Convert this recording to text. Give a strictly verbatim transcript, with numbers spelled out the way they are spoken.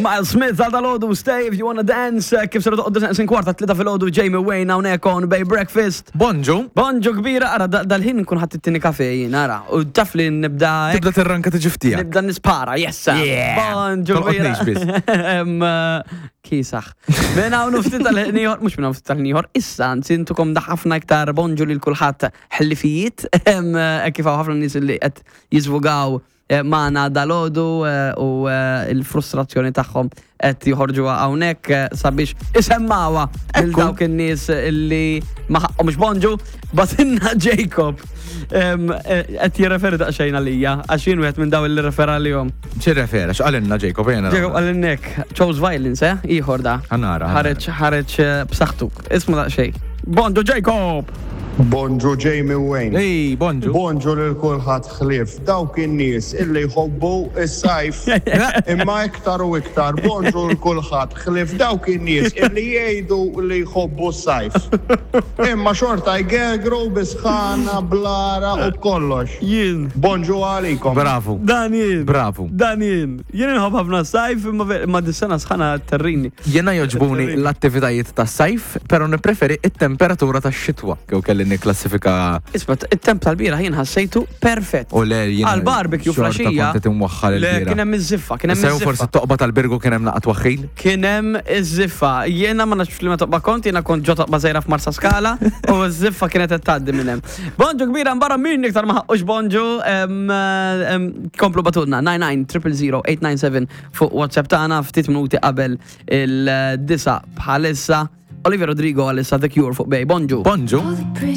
Miles Smith għal dal-għodu, "Stay If You Wanna Dance", kif ser toqgħodu sin kwarta tlita fil-għodu, Jamie Wayne hawnhekk on Bay Breakfast. Bonġu. Bonġu kbira, ara da- dal-ħin nkun ħadd it-tieni kafe jien, ara. U taf li nibda hekk, Tibda tirranka tiġi ftija. Nibda nispara, yes. Yeah. Bonġu kbira. Tolqotnix biss. Em, eh, Kisax. Minn hawn ftit tal-ħin ieħor, mhux minn hawn ftit tal-ħin ieħor, issa anzi intukom da ħafna iktar bonġu lil kulħadd ħlifijiet, em, eh, kif hawn ħafna nies li qed jiżvugaw eh, magħna dal-għodu eh, u eh, il-frustrazzjoni tagħhom qed joħorġu hawnhekk eh, sabiex isemmawha lil Ekku. dawk in-nies illi ma ħaqqhomx bonġu, bagħtilna Jacob em, eh, qed jirreferi daqsxejn għalija għax jien wieħed minn daw illi refera għalihom. X'irrefera, x'qalilna Jacob jena? Jacob għalinnek, "Chose violence", eh? Ieħor da. Ħa nara, ħa nara. Ħareġ, ħareġ eh, b'saħħtu. Isma' daqsxejn. Bonġu Jacob! Bonġu Jamie Wayne. Ej, bonġu. Bonġu lil kulħadd ħlief dawk in-nies illi jħobbu is-sajf. Imma iktar u iktar bonġu lil kulħadd ħlief dawk in-nies illi jgħidu li jħobbu s-sajf. Imma xorta jgegru bisħana, blara u b'kollox. Jien. Bonġu għalikom. Bravu. Dan jien. Bravu. Dan jien. Jien inħobb ħafna sajf imma ver- ma dis-sena sħana terrini. Jena joġbuni l-attivitajiet ta' sajf, pero nipreferi it-temperatura ta' xitwa. Kew kelli niklassifika. Isma', it-temp tal-bieraħ jien ħassejtu perfett. U le jien. Għal barbecue xorta flaxija. kont qed imwaħħal Le, il-bieraħ. kien hemm iż-żiffa, kien hemm Sew forsi iż-żiffa. toqba tal-Birgu kien hemm naqat waħħil. Kien hemm iż-żiffa. Jiena ma nafx li ma toqba kont, jiena kont ġo toqba żgħira f'Marsa Skala u ż-żiffa kienet qed tgħaddi minn hemm. Bonġu kbira barra min iktar ma ħaqqux bonġu, em, em, komplu ibagħtulna nine nine triple zero eight nine seven fuq WhatsApp tagħna ftit minuti qabel il-disa bħalissa. Olivia Rodrigo għalissa, "The Cure" fuq Bay. Bonġu. Bonġu.